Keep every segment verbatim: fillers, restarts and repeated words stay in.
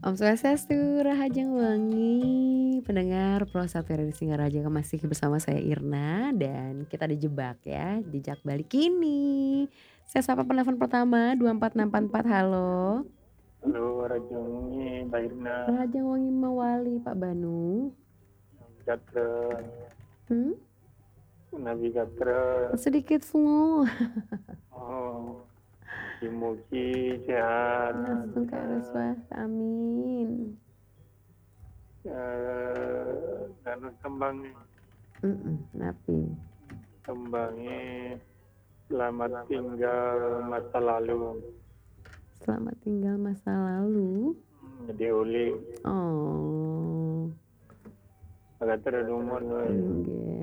Om Swastiastu, Rahajeng Wengi, pendengar Pro Satu R R I Singaraja, masih bersama saya Irna dan kita dijebak ya, jejak balik kini. Saya sapa penelpon pertama, dua empat enam empat empat, halo. Halo, Rahajeng Wengi, Mbak Irna. Rahajeng Wengi mawali, Pak Banu. Gatra. Hmm? Nabi Gatra. Sedikit fungu. Oh, mugi-mugi sehat. Astungkara swaha, amin. Eh, anu tembang nih. Mm-mm, napi? Tembangnya Selamat Tinggal Masa Lalu. Selamat Tinggal Masa Lalu? Hmm, jadi uli. Oh. Agak terlalu wé. Nggih.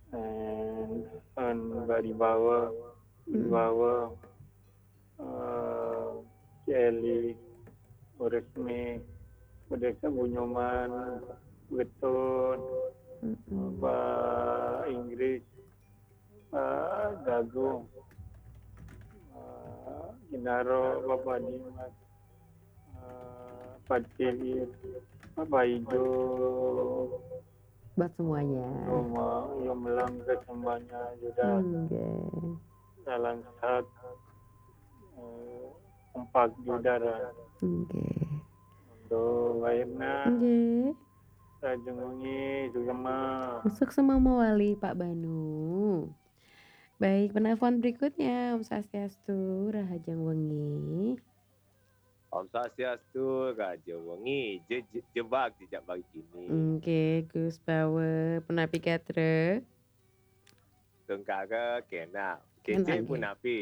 Eh, kan Mbak Dibawa, Hmm. Dibawa, eh, Celi, Uresmi, Udesa Bunyoman, Getun, Mm-mm. Mbak Inggris, Pak Gagung, eh, Ginaro, Bapak Dimas, eh, Pak Cili, Bapak Ijo. Buat semuanya. Roma, yang melang ke semuanya juga. Nggih. Salam sehat. Eh, kompak juga, dah. Nggih. Untuk Mbak Irna. Nggih. Rahajeng Wengi, suksema. Suksema mawali, Pak Banu. Baik, penelpon berikutnya, Om Swastiastu, Rahajeng Wengi. Om Swastiastu, Rahajeng Wengi, je-, je-, jebak jejak balik kini. Nggih, Gus Bawa, punapi gatra? Astungkara, kénak. Kénak, Cécék nggih. Punapi?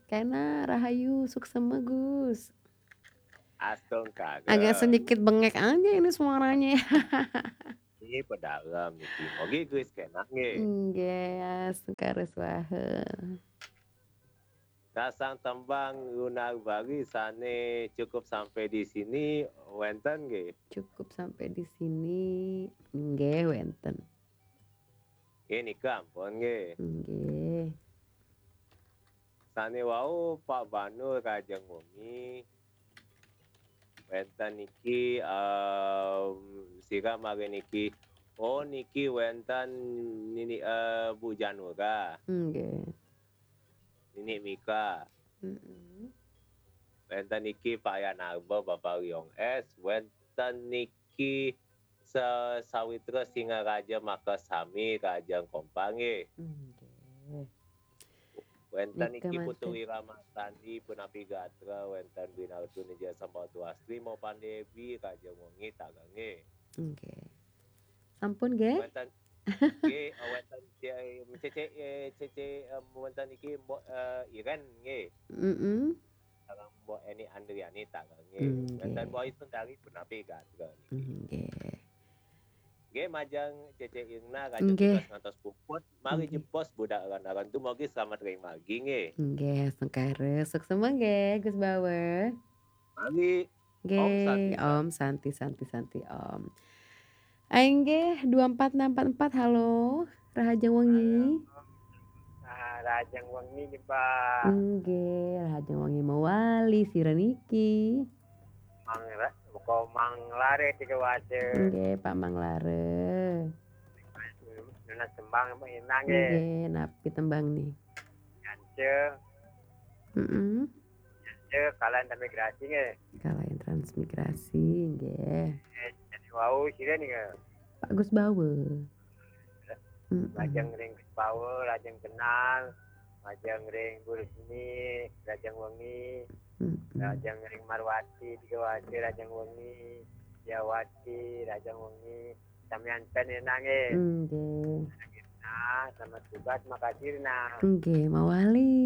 Kénak, rahayu, suksema, Gus. Astungkara. Agak sedikit bengek aja ini suaranya. Ini pedalem niki. Mogi Gus kénak nggih. Nggih, astungkara swaha. Nasang tembang Lunar Bali sané Cukup Sampai di Sini wénten nggih? Cukup Sampai di Sini, nggih wénten. Nggih, nika ampun nggih. Nggih. Sané wau Pak Banu, Rahajeng Wengi. Wénten niki, em, sira malih niki. Oh, niki wénten nini, eh, Bu Janura. Nggih. Nini Mika. Mm-mm. Wénten niki Pak Yanarba, Bapak Liong S. Wénten niki sa-, sawitra Singaraja makasami, Rahajeng kompak nggih. Nggih. Wénten niki Putu Wira Masandi, punapi gatra, wénten Winartuna Jaya Sambatuastri, Mopan Débi, Rahajeng Wengi, tagang nggih. Nggih. Sampun nggih? Wénten nggih, eh, wénten Cécék, eh, Cécék, eh, wénten niki Mbok, eh, Iren nggih. Mm-mm. Sareng Mbok Eni Andriani, tagang nggih. Nggih. Wénten Mbok Isun dari punapi gatra niki. Nggih. Nggih, majeng Cécék Irna, Rahajeng tugas ngantos puput. Mari jebos budal ran-ran, dumugi selamat ring margi nggih. Nggih, astungkara. Suksema nggih, Gus Bawa. Mari. Nggih, Om Santi, Om Santi, Santi, Santi, Om. Inggih, dua empat enam empat empat, halo. Rahajeng Wengi. Halo. Ah, Rahajeng Wengi nggih, Pak. Nggih, Rahajeng Wengi mawali, sira niki. Mang Ra-, Mang Lare tiga waja. Nggih, Pak Mang Lare. Nunas tembang, Pak, énak nggih. Nggih, napi tembang nih? Nyance. Mm-mm. Nyance, Kalayan Transmigrasi nggih. Kalayan Transmigrasi, nggih. Eh, jadi wau sira nih nggih. Pak Gus Bawa. Mm-mm. Rahajeng ring Gus Bawa, rahajeng kenal, rahajeng ring Bu Rusmi, rahajeng wengi, Mm-mm. rahajeng ring Marwati, tiga waja, rahajeng wengi, Diawati, rahajeng wengi, samian ten énak nggih. Nggih. Nah, selamat tugas, makasih, nah. Nggih, mawali.